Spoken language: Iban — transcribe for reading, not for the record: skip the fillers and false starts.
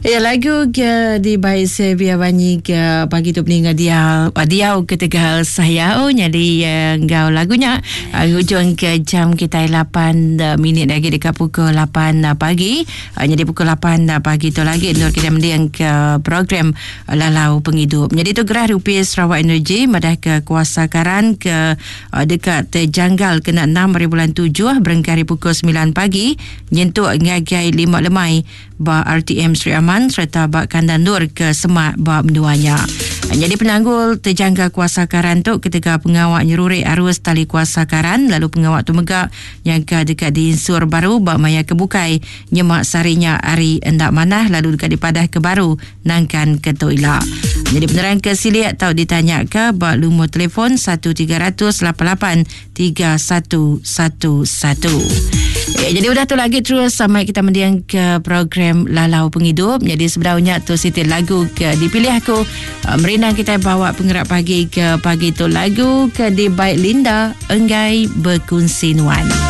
Ya lagu ke dibai Sevia Banyi ke pagi tu peninga dia diau ketegal sayau jadi eh, enggau lagu nya eh, ngujung ke jam kita 8 eh, minit lagi dekat pukul 8 pagi. Jadi pukul 8 pagi tu lagi nur kita mending ke program Lalau Pengidup. Jadi tu gerah Rupi Sarawak Energy madah ke kuasa karan ke dekat terjanggal kena 6 hari bulan 7 berengkah hari pukul 9 pagi nyentuk ngagai 5 lemai ba RTM Sri Aman sereta ba kandang endur ke semak ba menua nya. Nyadi penanggul tejangka kuasa karan tu ketegal pengawa nyerurik arus tali kuasa karan lalu pengawa tu mega nyangka deka diinsur baru ba maya ke bukai nyema sehari nya hari enda manah lalu deka dipadahka baru nangkan ke tu ila. Nyadi penerang ke silik tau ditanyaka ba lumur telefon 1388 3111. Ya, jadi udah tu lagi terus sama kita mendiang ke program Lalau Pengidup. Jadi sebenarnya tu siti lagu ke dipilih aku uh, merindang kita bawa penggerak pagi ke pagi tu lagu ke dibaik Linda Enggai Berkunsi Nuan.